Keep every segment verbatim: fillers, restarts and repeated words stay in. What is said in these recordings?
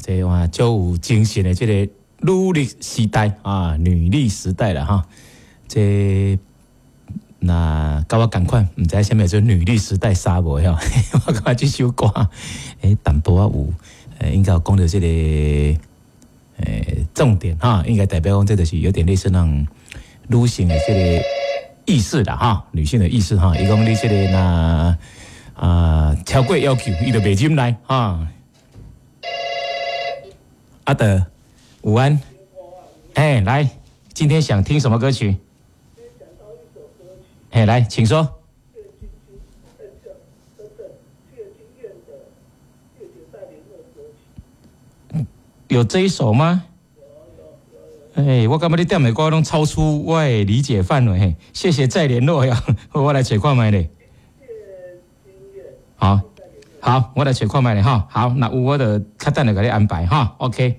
這哇足有精神的這个女力時代啊，女力時代啦哈。這若佮我仝款，毋知啥物叫做女力時代啥無吼？我感覺這首歌，欸，淡薄仔有，欸，應該有講著這个，欸，重點哈，應該代表講這就是有點類似那種女性的這個意識啦哈，女性的意識哈。伊講你這个若啊超過要求，伊就袂忍耐哈。阿德，午安，哎，來，今天想聽什麼歌曲？哎，來，請說。謝金等等謝金燕的謝謝再聯絡歌曲。有這一首嗎？哎，我感覺你點的歌攏超出我的理解範圍。嘿，謝謝再聯絡呀，我來揣看覓咧。謝金燕。好，好，我來揣看覓咧哈。好，那有我就較等下共你安排哈。OK。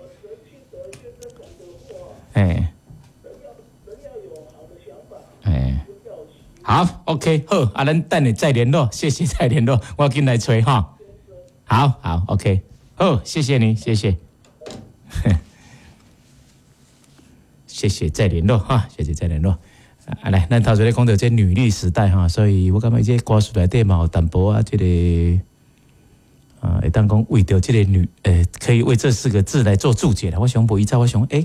哎。哎。好，OK，好，啊，咱等下再聯絡，謝謝再聯絡，我緊來揣哈。好好，OK，好，謝謝你，謝謝，謝謝再聯絡哈，謝謝再聯絡。啊，來，咱頭先咧講著這女力時代哈，所以我感覺這歌詞內底嘛有淡薄仔這个啊，會當講為著這個女，呃，可以為這四個字來做注解啦。我想無伊早，我想，欸，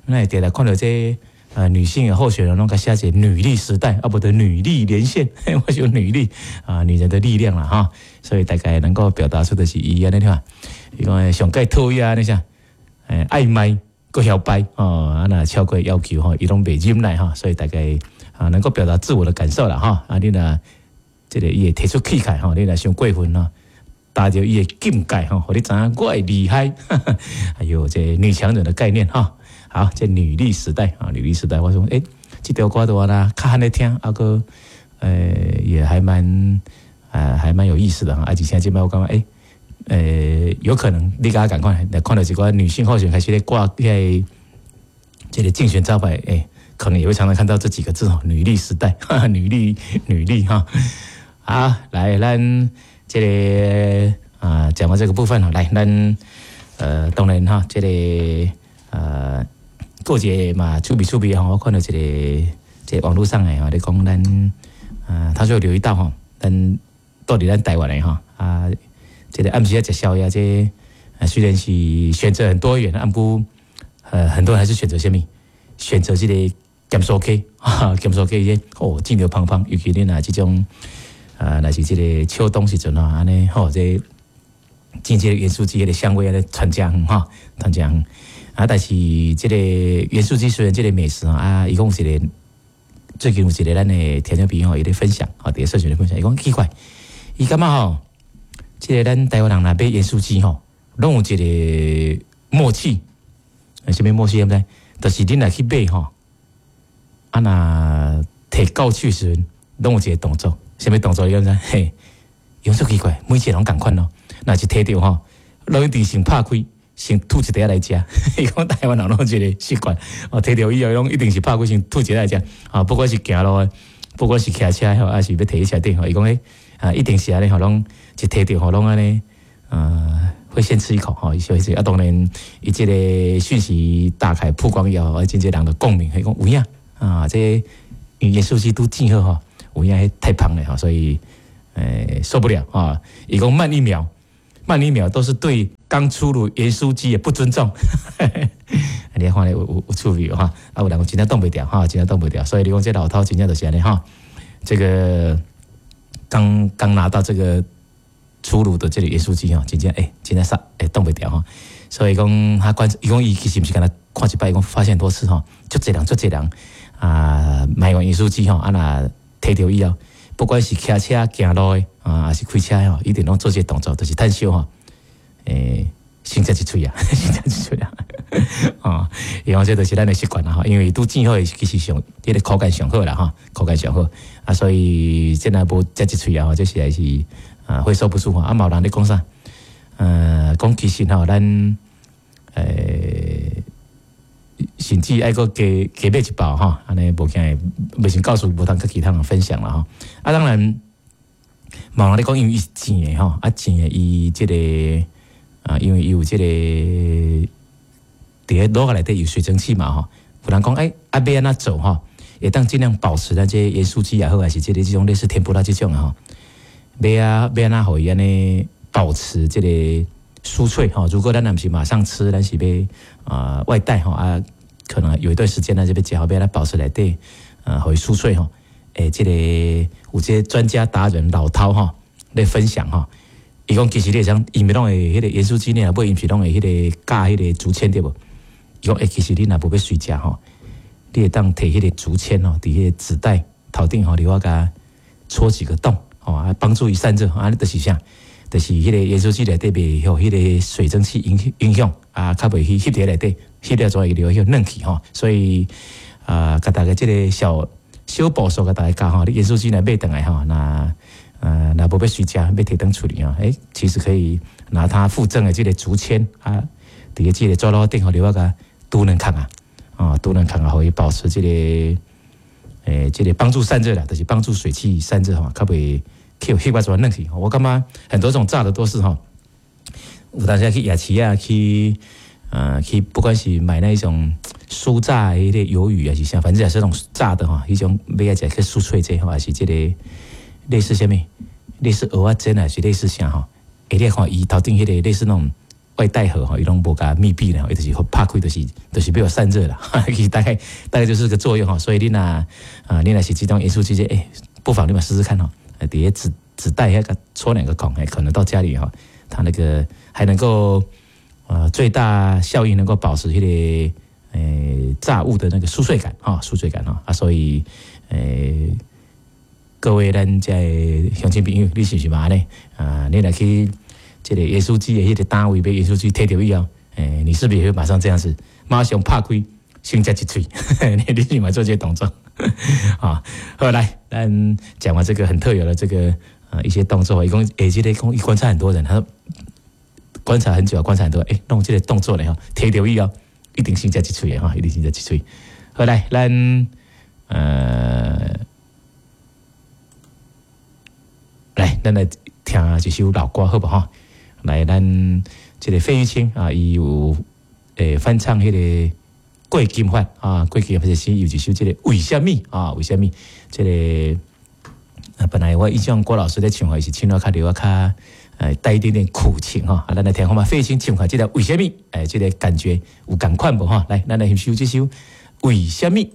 咱會佇來看著這個。呃，女性的候選人攏共寫一個女力時代，啊，無就女力連線，我想女力啊，女人的力量啦哈，所以大概能夠表達出的是伊按呢看，伊講上蓋討厭按呢啥，欸，愛賣閣囂擺哦，啊若超過要求吼，伊攏袂忍耐哈，所以大概啊能夠表達自我的感受啦哈，啊你若這个伊會提出氣概吼，你若傷過分吼，達著伊的境界吼，予你知影我的厲害，哎喲，這女強人的概念哈。好，這女力時代啊，女力時代，我說，欸，這條歌的話呢，較罕咧聽，啊閣，呃，也還蠻，呃，還蠻有意思的哈。而且這擺我感覺，欸，呃，有可能你共我仝款，來看著一寡女性候選開始咧掛遐這個競選招牌，欸，可能也會常常看到這幾個字吼，女力時代，哈哈，女力，女力哈。好，來，咱這個啊，講完這個部分哈，來，咱呃，當然哈，這個呃。過節嘛，趣味趣味吼，我看著一个這個網路上的吼，咧講咱啊，他就留意到吼，咱蹛佇咱台灣的吼啊，這个暗時仔食宵夜，這個雖然是選擇很多元，啊，毋過呃，很多人還是選擇啥物？選擇這个鹹酥雞，哈，鹹酥雞這哦，煎著芳芳，尤其恁若這種啊，若是這个秋冬時陣吼，按呢吼，這煎這个鹽酥雞彼个香味按呢傳遮遠吼，傳遮遠。啊，但是這个鹽酥雞雖然這个美食啊，伊講有一个最近有一个咱的聽眾朋友伊咧分享，吼，佇社群咧分享，伊講奇怪，伊感覺吼，這个咱台灣人若買鹽酥雞吼，攏有一个默契，啥物默契？毋知？就是恁若去買吼，啊若提到手時陣，攏有一个動作，啥物動作？你敢知？嘿，伊講足奇怪，每一个攏仝款咯，若是提著吼，攏一定先拍開。先吐一塊來食，伊講台灣人攏有這个習慣，哦，提著以後攏一定是拍開先吐一塊來食，啊，不管是行路的，不管是騎車吼，還是欲提佇車頂吼，伊講欸，啊，一定是按呢吼，攏一提著吼，攏按呢，啊，會先吃一口吼，伊小吃啊，當然伊這个訊息打開曝光以後，啊，真濟人就共鳴，伊講有影啊，這鹽酥雞拄煎好吼，有影太芳了吼，所以欸受不了啊，伊講慢一秒。慢一秒都是對剛出爐鹽酥雞的不尊重。你看咧有有有趣味哈，啊有人講真正擋袂牢哈，真正擋袂牢，所以你講這老饕真正就是按呢哈。這个剛剛拿到這個出爐的這个鹽酥雞吼，真正欸，真正煞會擋袂牢哈。所以講他觀，伊講伊其實毋是干焦看一擺，伊講發現很多次吼，足濟人足濟人啊買完鹽酥雞吼，啊若提著以後，不管是騎車行路的啊，還是開車吼，一定攏做這个動作，就是趁燒吼，欸，先食一喙啊，先食一喙啊，啊，伊講這就是咱的習慣啦吼，因為拄煎好的其實上，彼个口感上好啦吼，口感上好啊，所以這若無食一喙啊，這實在是啊會受不住吼。啊，嘛有人咧講啥？呃，講其實吼，咱欸，甚至愛閣加加買一包吼，按呢無驚袂先告訴無通佮其他人分享啦吼。啊，當然，嘛有人咧講，因為伊是煎的吼，啊煎的伊這个啊，因為伊有這個佇咧爐仔內底有水蒸氣嘛吼，有人講欸，啊欲按怎做吼，會當盡量保持咱這鹽酥雞也好，還是這個這種類似天婦羅這種啊吼，欲啊欲按怎予伊按呢保持這個酥脆吼。如果咱若毋是馬上吃，咱是欲啊外帶吼啊，可能有一段時間咱這欲食好，欲來保持內底啊，予伊酥脆吼。欸，這個有這個專家達人老饕吼咧分享吼，伊講其實你會使，伊毋是攏會彼個鹽酥雞呢，尾伊毋是攏會彼個夾彼個竹籤對無？伊講欸，其實你若無欲隨食吼，你會當提彼個竹籤吼，佇彼個紙袋頭頂吼，你我共戳幾個洞吼，啊，幫助伊散熱，啊，就是啥？就是彼個鹽酥雞內底袂予彼個水蒸氣影影響啊，較袂去翕佇內底，翕了之後會留予軟去吼。所以啊，共大家這個小小步數共大家教吼，你鹽酥雞若買轉來吼，若呃若無欲隨食，欲提轉厝裡吼，欸，其實可以拿它附贈的這個竹籤啊，佇個這個紙篓頂吼，留我共拄兩孔啊，啊，拄兩孔啊，予伊保持這個欸，這個幫助散熱啦，就是幫助水汽散熱吼，較袂去翕啊怎軟去。我感覺很多種炸的都是吼，有當時去夜市啊，去呃去，不管是買那一種酥炸的彼個魷魚還是啥，反正也是那種炸的吼，彼種欲來食較酥脆者吼，還是這個類似啥物，類似蚵仔煎還是類似啥吼？欸，你看伊頭頂彼個類似那種外帶盒吼，伊攏無共密閉咧，伊就是拍開就是就是欲予散熱啦，其實大概大概就是這個作用吼。所以你若啊，你若是這種鹽酥雞，欸，不妨你嘛試試看吼，佇咧紙紙袋遐共戳兩個孔，欸，可能到家裡吼，它那個還能夠呃最大效應能夠保持彼個欸炸物的那個酥脆感哈，酥脆感哈啊，所以欸各位咱遮鄉親朋友，你是毋是嘛按呢？啊，你若去這個鹽酥雞的彼個單位買鹽酥雞，提著以後，欸，你是不是也會馬上這樣子，馬上拍開，先食一喙？你你是嘛做這個動作？啊，好來，咱講完這個很特有的這個啊一些動作，伊講欸，這個講伊觀察很多人，他說觀察很久，觀察很多，欸，弄這個動作咧吼，提著以後，一定先食一喙的哈，一定先食一喙。好來，咱呃。來，咱來聽一首老歌，好無吼？來，咱這個費玉清啊，伊有欸翻唱彼個郭金發啊，郭金發是有一首這個為啥物啊？為啥物？這個啊，本來我印象郭老師咧唱，伊是唱得較著較呃帶一點點苦情吼。啊，咱來聽看覓費玉清唱看這個為啥物？欸，這個感覺有仝款無吼？來，咱來欣賞這首為啥物？